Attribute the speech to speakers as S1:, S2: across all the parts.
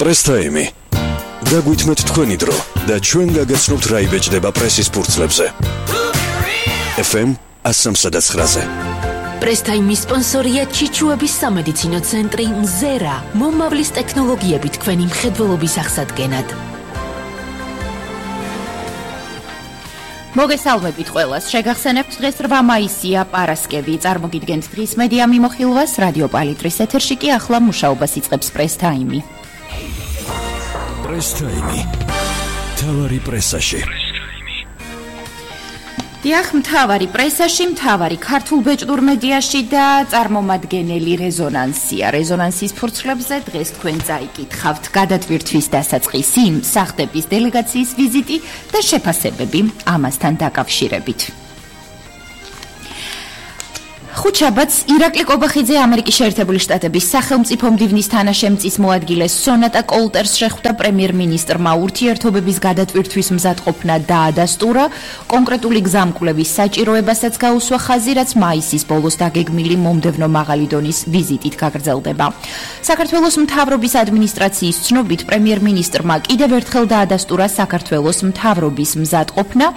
S1: Press Time. Dagwitmet თქვენი დრო და ჩვენ გაგაცნობთ რა იბეჭდება პრესის ფურცლებზე. FM 103-ზე.
S2: Press Time-ის სპონსორია ჩიჩუების სამედიცინო ცენტრი მზერა, მომავლის ტექნოლოგიებით თქვენი მხედველობის აღსადგენად.
S3: მოგესალმებით ყველას. შეგახსენებთ დღეს 8 მაისია, პარასკევი. წარმოგიდგენთ დღის მედია მიმოხილვას რადიო პალიტრის ეთერში კი ახლა მუშაობას იწყებს Press Time.
S1: Press Time. თავარი პრესაში.
S3: დიახ, მთავარი პრესაში, მთავარი ქართულ ბეჭდურ მედიაში და წარმომადგენელი რეზონანსია. რეზონანსის ფურცლებზე დღეს თქვენ წაიკითხავთ გადატვირთვის დასაწყისი, სახლების დელეგაციის ვიზიტი და შეფასებები ამასთან დაკავშირებით. ხუთშაბათს ირაკლი კობახიძე ამერიკის შეერთებული შტატების სახელმწიფო მდივნის თანაშემწის მოადგილეს სონატა კოლტერს შეხვდა პრემიერ-მინისტრმა ურთიერთობების გადატვირთვის მზადყოფნა დაადასტურა, კონკრეტული გზამკვლევის საჭიროებასაც გაუსვა ხაზი, რაც მაისის ბოლოს დაგეგმილი მომდევნო მაღალი დონის ვიზიტით გაგრძელდება. საქართველოს მთავრობის ადმინისტრაციის ცნობით პრემიერ-მინისტრმა კიდევ ერთხელ დაადასტურა საქართველოს მთავრობის მზადყოფნა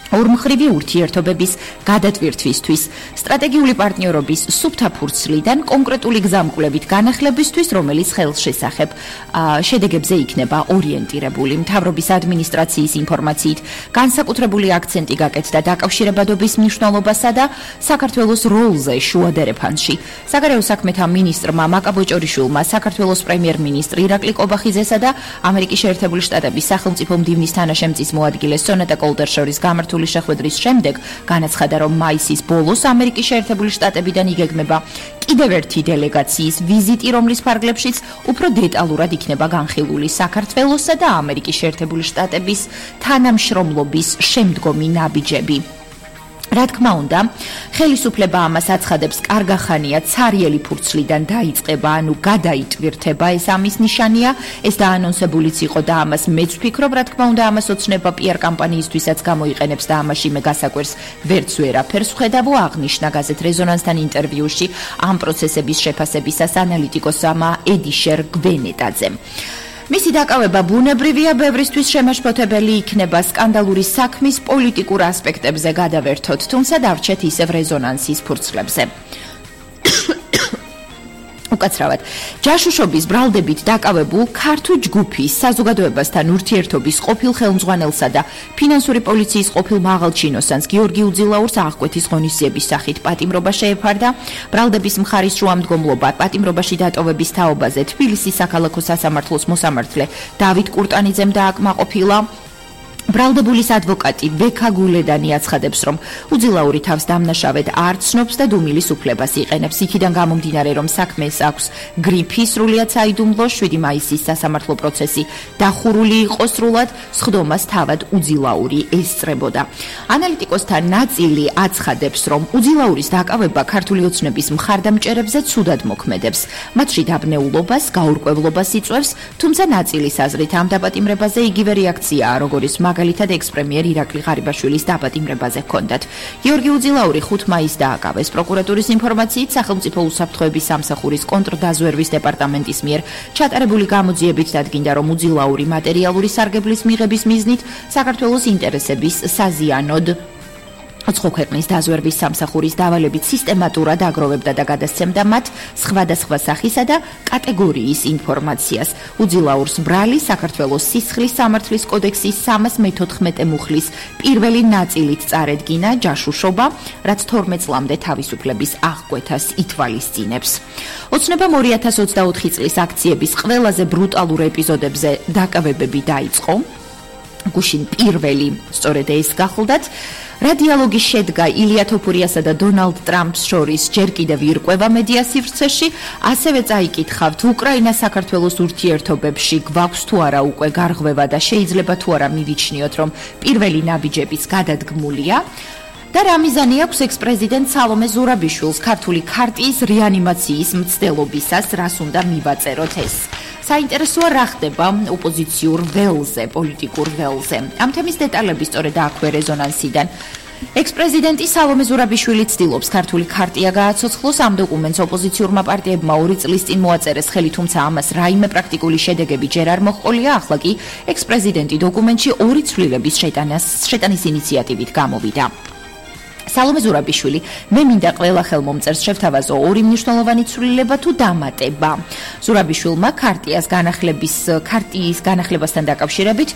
S3: ორმხრივი ურთიერთობების გადატვირთვისთვის, სტრატეგიული პარტნიორობის სუფთა ფურცლიდან კონკრეტული გზამკვლევით განახლებისთვის, რომელიც ხელშესახებ შედეგებზე იქნება ორიენტირებული. მთავრობის ადმინისტრაციის ინფორმაციით, განსაკუთრებული აქცენტი გაკეთდა დაკავშირებადობის მნიშვნელობასა და საქართველოს როლზე შუადერეფანში. საგარეო საქმეთა მინისტრმა მაკაბოჭორიშვილმა საქართველოს პრემიერ-მინისტრი ირაკლი კობახიძესა და ამერიკის შეერთებული შტატების სახელმწიფო მდივნის თანაშემწის მოადგილეს სონატა კოლტერს შორის გამართული შეხვედრის შემდეგ განაცხადა, რომ მაისის ბოლოს ამერიკის შეერთებული შტატებიდან იგეგმება კიდევ ერთი დელეგაციის ვიზიტი, რომლის ფარგლებშიც უფრო დეტალურად იქნება განხილული საქართველოსა და ამერიკის შეერთებული შტატების თანამშრომლობის შემდგომი ნაბიჯები. რა თქმა უნდა, ხელისუფლება ამას აცხადებს, კარგახანია ცარიელი ფურცლიდან დაიწყება, ანუ გადაიტვირთება, ეს ამის ნიშანია, ეს დაანონსებულიც იყო და ამას მეც ვფიქრობ, რა თქმა უნდა, ამას ოცნება PR კამპანიისთვისაც გამოიყენებს და ამაში მე გასაკვირს ვერც ვერაფერს ვხედავ, აღნიშნა გაზეთ რეზონანსთან ინტერვიუში ამ პროცესების შეფასებისას ანალიტიკოსამ ედიშერ გვენეტაძემ. მისი დაკავება ბუნებრივია, ბევრისთვის შემაშფოთებელი იქნება სკანდალური საქმის პოლიტიკურ ასპექტებზე გადავერთოთ, თუმცა დავრჩეთ ისევ რეზონანსის ფურცლებზე. უკაცრავად, ჯაშუშობის ბრალდებით დაკავებულ ქართულ ჯგუფის საზოგადოებასთან ურთიერთობის ყოფილ ხელმძღვანელსა და ფინანსური პოლიციის ყოფილ მაღალჩინოსანს გიორგი უძილაურს აღკვეთის ღონისძიების სახით პატიმრობა შეეფარდა. ბრალდების მხარის შუამდგომლობა პატიმრობაში დატოვების თაობაზე თბილისის საქალაქო სასამართლოს მოსამართლე დავით კურტანიძემ დააკმაყოფილა. ბრალდებულის ადვოკატი ბექა გულედანი აცხადებს, რომ უძილაური თავს დამნაშავედ არ ცნობს და დუმილის უფლებას იყენებს. იქიდან გამომდინარე, რომ საქმეს აქვს გრიფი, სრულიად საიდუმლო 7 მაისის სასამართლო პროცესი დახურული იყო სრულად, სხდომას თავად უძილაური ესწრებოდა. ანალიტიკოსთა ნაწილი აცხადებს, რომ უძილაურის დაკავება ქართული ოცნების მხარდამჭერებზე ცუდად მოქმედებს. მათში დაბნეულობას, გაურკვევლობას იწვევს, თუმცა ნაწილის აზრით ამ დაპატიმრებაზე იგივე რეაქციაა, როგორიც მაგალითად ექს-პრემიერ ირაკლი ღარიბაშვილის დაპატიმრებაზე ჰქონდათ. გიორგი უძილაური 5 მაისს დააკავეს. პროკურატურის ინფორმაციით, სახელმწიფო უსაფრთხოების სამსახურის კონტრდაზვერვის დეპარტამენტის მიერ ჩატარებული გამოძიებით დადგინდა, რომ უძილაური მატერიალური სარგებლის მიღების მიზნით საქართველოს ინტერესების საზიანოდ ოცხო ქვეყნის დაზვერვის სამსახურის დავალებით სისტემატურად აგროვებდა და გადასცემდა მათ სხვადასხვა სახისა და კატეგორიის ინფორმაციას. უძილაურს ბრალი საქართველოს სისხლის სამართლის კოდექსის 314 მუხლის პირველი ნაწილით წარედგინა ჯაშუშობა, რაც 12 წლამდე თავისუფლების აღკვეთას ითვალისწინებს. ოცნებამ 2024 წლის აქციების ყველაზე ბრუტალურ ეპიზოდებზე დაკავებები დაიწყო. გუშინ პირველი სწორედ ეს გახლდათ. რა დიალოგი შედგა ილია თოფურიასა და დონალდ ტრამპს შორის ჯერ კიდევ ირკვევა მედია სივრცეში, ასევე წაიკითხავთ უკრაინა-საქართველოს ურთიერთობებში გვაქვს თუ არა უკვე გარღვევა და შეიძლება თუ არა მივიჩნიოთ, რომ პირველი ნაბიჯებიც გადადგმულია. და რა მიზანი აქვს ექს-პრეზიდენტ სალომე ზურაბიშვილს ქართული ქარტიის რეანიმაციის მცდელობისას, რას უნდა მივაწეროთ ეს. საინტერესოა რა ხდება ოპოზიციურ ველზე, პოლიტიკურ ველზე. ამ თემის დეტალები სწორედ აქვე რეზონანსიდან ექს-პრეზიდენტი სალომე ზურაბიშვილი ცდილობს ქართული ქარტია გააცოცხლოს. ამ დოკუმენტს ოპოზიციურმა პარტიებმა 2 წლის წინ მოაწერეს ხელი, თუმცა ამას რაიმე პრაქტიკული შედეგები ჯერ არ მოჰყოლია. ახლა კი ექს-პრეზიდენტი დოკუმენტში 2 ცვლილების შეტანის ინიციატივით გამოვიდა. სალომე ზურაბიშვილი მე მინდა ყველა ხელმომწერს შევთავაზო 2 მნიშვნელოვანი ცვლილება თუ დამატება. ზურაბიშვილმა ქარტიის განახლებასთან დაკავშირებით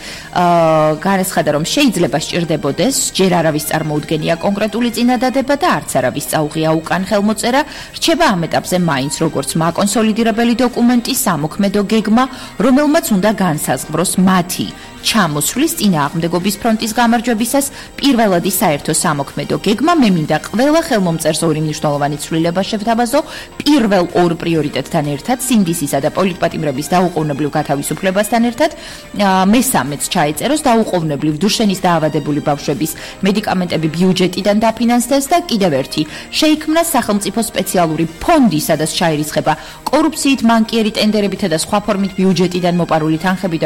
S3: განაცხადა, რომ შეიძლება სჭირდებოდეს ჯერ არავის წარმოუდგენია კონკრეტული წინადადება და არც არავის წაუღია უკან ხელმოწერა. რჩება ამ ეტაპზე მაინც როგორც მაკონსოლიდირებელი დოკუმენტი, სამოქმედო გეგმა, რომელმაც უნდა განსაზღვროს მათი ჩამოსვლის წინააღმდეგობის ფრონტის გამარჯვებისას პირველადი საერთო სამოქმედო გეგმა. მე მინდა ყველა ხელმომწერს 2 მნიშვნელოვანი ცვლილება შევთავაზო. პირველ 2 პრიორიტეტთან ერთად, სინდისისა და პოლიტპატიმრების დაუყოვნებლივ გათავისუფლებასთან ერთად, მესამეც ჩაეწეროს დაუყოვნებლივ დუშენის დაავადებული ბავშვების მედიკამენტები ბიუჯეტიდან დაფინანსდეს და კიდევ ერთი შეიქმნა სახელმწიფო სპეციალური ფონდი, სადაც ჩაირიცხება კორუფციით, მანკიერი ტენდერებითა და სხვა ფორმით ბიუჯეტიდან მოპარული თანხები და